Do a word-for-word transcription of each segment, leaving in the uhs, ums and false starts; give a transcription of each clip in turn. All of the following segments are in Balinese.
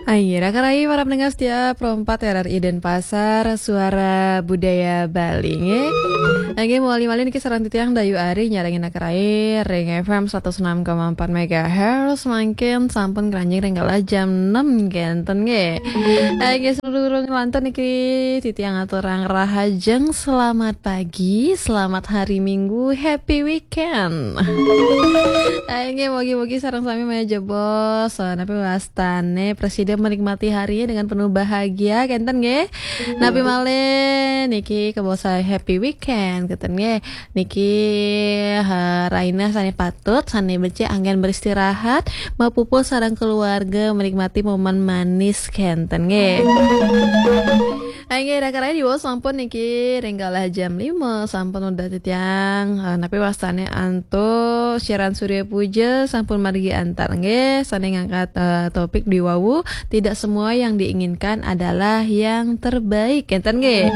Ayo, Raka Rai, para pendengar setia Pro empat R R I Denpasar, Suara Budaya Bali, nggih. Nggih, mawali malih niki sareng titiang Dayu Ari nyarengin Raka Rai ring F M seratus enam koma empat megahertz, mangkin sampun ngranjing ring galah jam enam kenten, nggih. Nggih, sadurung lantur niki titiang aturang rahajeng, selamat pagi, selamat hari Minggu, happy weekend. Nggih, mugi-mugi sareng sami malih jebos, eh, napi wastane prasida menikmati harinya dengan penuh bahagia, kenten nggih. Napi malih niki kabaos happy weekend, kenten nggih. Niki, eh, rahina sane patut, sane becik anggen beristirahat, mapupuh sareng keluarga, menikmati momen manis, kenten nggih. Inggih, Raka Rai, diwau sampun niki ring galah jam lima, sampun udah titiang, eh, napi wastane antuk siaran Surya Puja sampun margi antar nggih, sane ngangkat, eh, topik diwau, tidak semua yang diinginkan adalah yang terbaik, kenten nggih.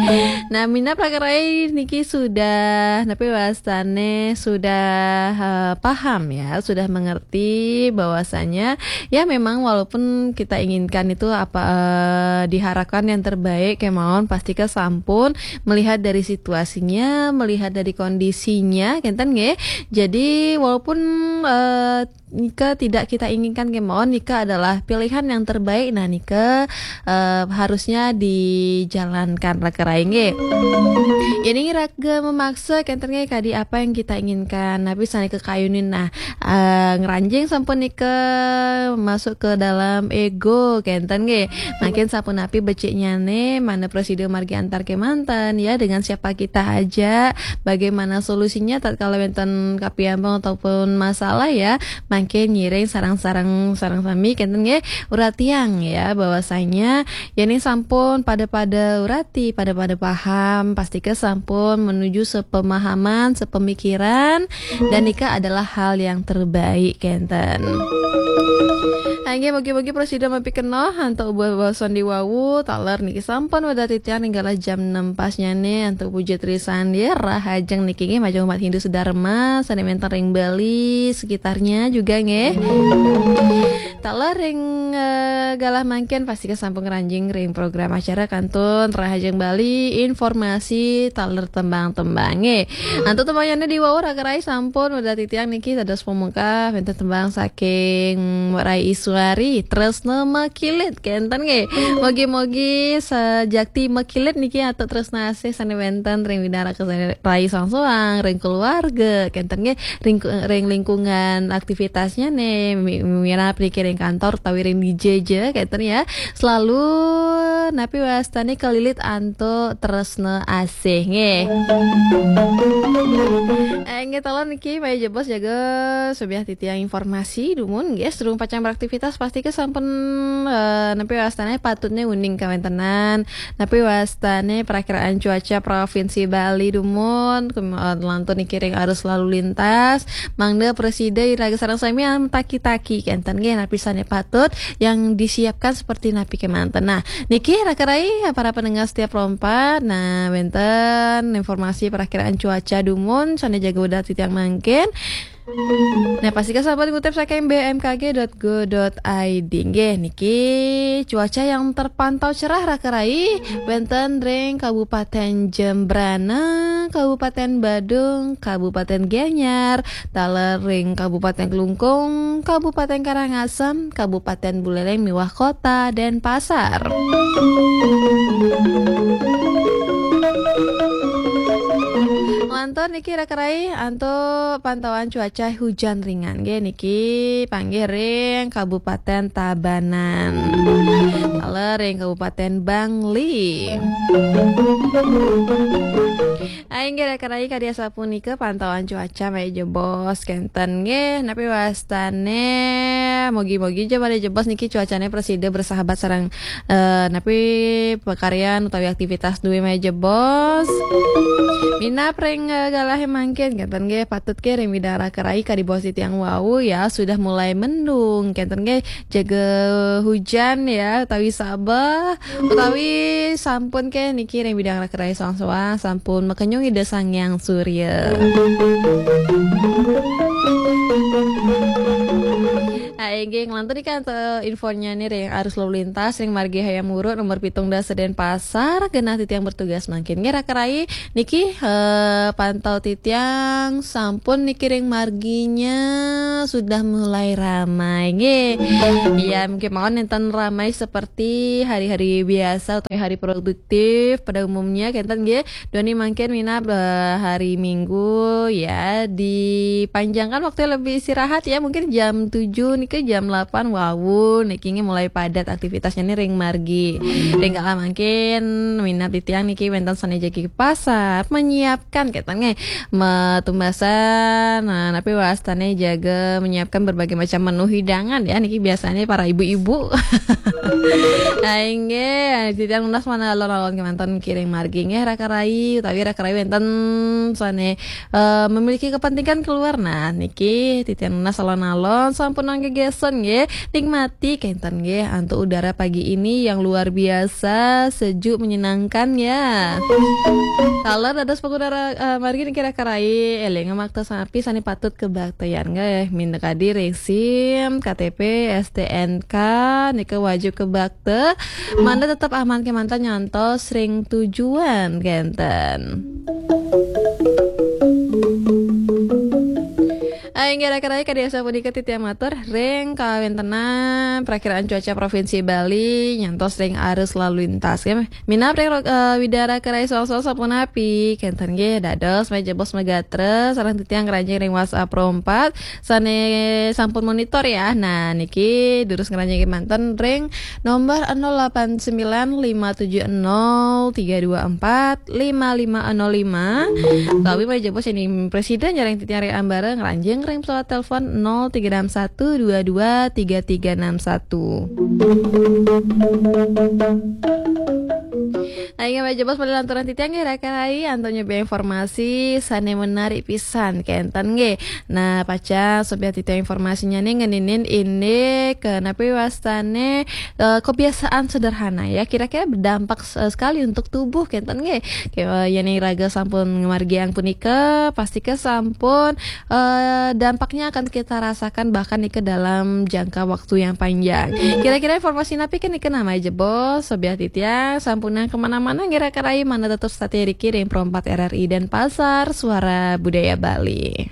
Nah, minab Raka Rai niki sudah, napi wastane sudah, eh, paham ya, sudah mengerti bahwasanya ya, memang walaupun kita inginkan itu apa, eh, diharapkan yang terbaik kemawon, pastika sampun melihat dari situasinya, melihat dari kondisinya, kenten nggih. Jadi walaupun, eh, nika tidak kita inginkan kemawon, nika adalah pilihan yang terbaik, nah nika, eh, harusnya dijalankan, Raka Rai nggih. Yen raga memaksa, kenten nggih, kadi apa yang kita inginkan. Napi sane kakayunin, nah, eh, ngranjing sampun nika masuk ke dalam ego, kenten nggih. Mangkin sapunapi beciknyane, mana prasida margi antar kemanten, ya, dengan siapa kita aja, bagaimana solusinya tatkala wenten kapiambang ataupun masalah, ya, mangkin ngiring sareng-sareng, sareng sami, kenten nggih, uratiang, ya, bahwasanya yen sampun pada-pada urati, pada-pada paham, pastika sampun menuju sepemahaman, sepemikiran, dan nika adalah hal yang terbaik, kenten. Nggih, mugi-mugi prasida mapikenoh antuk babasan diwau, taler niki sampun wédar titiang ring galah jam enam pasnyane antuk puja trisandia, rahajeng niki nggih majeng umat Hindu sedharma, sane wenten ring Bali, sekitarnya juga nggih. Taler ring, eh, galah mangkin pastika sampun ngranjing ring program acara kantun Rahajeng Bali, informasi taler tembang-tembange. Antuk tembangnyane diwau Raka Rai sampun wédar titiang niki dados pamungkah wenten tembang saking Rai Iswari, Tresna Makilit, kenten nggih. Mugi-mugi sajakti makilit niki antuk tresna asih sane wenten ring Widara Rai soang-soang, ring keluarga, kenten nggih. Ring, ring lingkungan aktivitasnya nih, mi-, mirab niki ring kantor utawi ring D J ja, kenten ya. Selalu napi wastane kelilit antuk tresna asih nggih. Eh, nggih, taler niki malih jebos jaga subyah titiang informasi dumun nggih, sedurung pacang beraktivitas pastika sampun, eh, napi wastane patutne uning kawentenan. Napi wastane perakiraan cuaca Provinsi Bali dumun, kem-, eh, lantur niki ring arus lalu lintas, mangda prasida iraga sareng sami yang taki-taki kenten nggih, napi sane patut yang disiapkan seperti napi kemanten. Nah, niki Raka Rai, para pendengar setia Pro empat, nah, wenten informasi perakiraan cuaca dumun, sane jaga wédar titiang mangkin. Nah, pastika sampun ngutip saking B M K G dot go dot I D. Nggih, niki cuaca yang terpantau cerah Raka Rai wenten ring Kabupaten Jembrana, Kabupaten Badung, Kabupaten Gianyar, taler ring Kabupaten Klungkung, Kabupaten Karangasem, Kabupaten Buleleng miwah Kota Denpasar. Lantur niki Raka Rai antuk pantauan cuaca hujan ringan nggih niki panggih ring Kabupaten Tabanan. Taler ring Kabupaten Bangli. Inggih Raka Rai kadi asapunika pantauan cuaca malih jebos kenten nggih. Napi wastane mugi-mugi ja malih jebos niki cuacane prasida bersahabat sareng, eh, napi pakaryan utawi aktivitas duwe malih jebos. Minab ring, eh, galahe mangkin kenten nggih, patut ke ring Widara Raka Rai kadi baos titiang wau ya, sudah mulai mendung kenten nggih, jaga hujan ya utawi sabeh, utawi sampun ke niki ring Widara Raka Rai soang-soang sampun makenyung Ida Sang Hyang Surya. Inggih, ngelantur nih kan, eh, infonya nih ring arus lalu lintas ring margi Hayam Wuruk nomor pitung dasa Denpasar, genah titiang bertugas mangkin. Nggih, raka rai, niki, eh, pantau titiang sampun niki ring marginya sudah mulai ramai. Nggih. Iya, mungkin mawon nenten ramai seperti hari-hari biasa atau hari produktif pada umumnya, kenten nggih. Duaning mangkin minab, eh, hari Minggu ya, dipanjangkan waktu lebih istirahat ya, mungkin jam tujuh niki, jam delapan wau niki nggih mulai padat aktivitasnya nih ring margi. Ring kala mangkin minab titiang niki wenten sane jagi ke pasar, menyiapkan kenten nggih, metumbasan, nah, tapi wastane jaga menyiapkan berbagai macam menu hidangan ya, niki biasanya para ibu-ibu. Inggih, titiang nunas mangda alon-alon kemanten niki ring margi nggih, raka rai utawi raka rai wenten sane, eh, memiliki kepentingan keluar. Nah, niki titiang nunas alon-alon sampun anggegesen nggih. Nikmati kenten nggih antuk udara pagi ini yang luar biasa sejuk menyenangkan ya. Taler dados pengudara, eh, margi niki raka rai, eling makta sanapi sane patut kabaktean nggih. Minakadi ring SIM, K T P, S T N K, nika wajib kabakta. Mangda tetep aman kemanten nyantos ring tujuan kenten. Inggih raka rai, kadi asapunika titiang matur ring kawentenan Prakiraan Cuaca Provinsi Bali nyantos ring arus lalu lintas ya. Minab ring, eh, Widara Kerai Solsol sapunapi kenten nggih, dados majebos magatra sareng titiang ngranjing ring WhatsApp Pro empat sane sampun monitor ya. Nah, niki durus ngranjing kemanten ring nomor nol delapan sembilan lima tujuh nol tiga dua empat lima lima nol lima. Utawi majebos sane presida nyareng titiang ring ambara ngranjing ring pesawat telepon nol tiga enam satu dua dua tiga tiga enam satu. Nah, inggih majebos malih lanturang titiang nggih raka rai antuk nyobi informasi sane menarik pisan kenten nggih. Nah, pacang sobiah titiang informasinya nih ngeninin indik, eh, napi wastane, eh, kebiasaan sederhana ya. Kira-kira berdampak, eh, sekali untuk tubuh kenten nggih. Ke, eh, yen raga sampun ngamargiang punika, pastika sampun, eh, dampaknya akan kita rasakan bahkan nika dalam jangka waktu yang panjang. Kira-kira informasi napi ke nika nami jebos, sobiah titiang sampunang kemana-mana nggih raka rai, mangda tetep stay riki ring Pro empat R R I Denpasar, Suara Budaya Bali.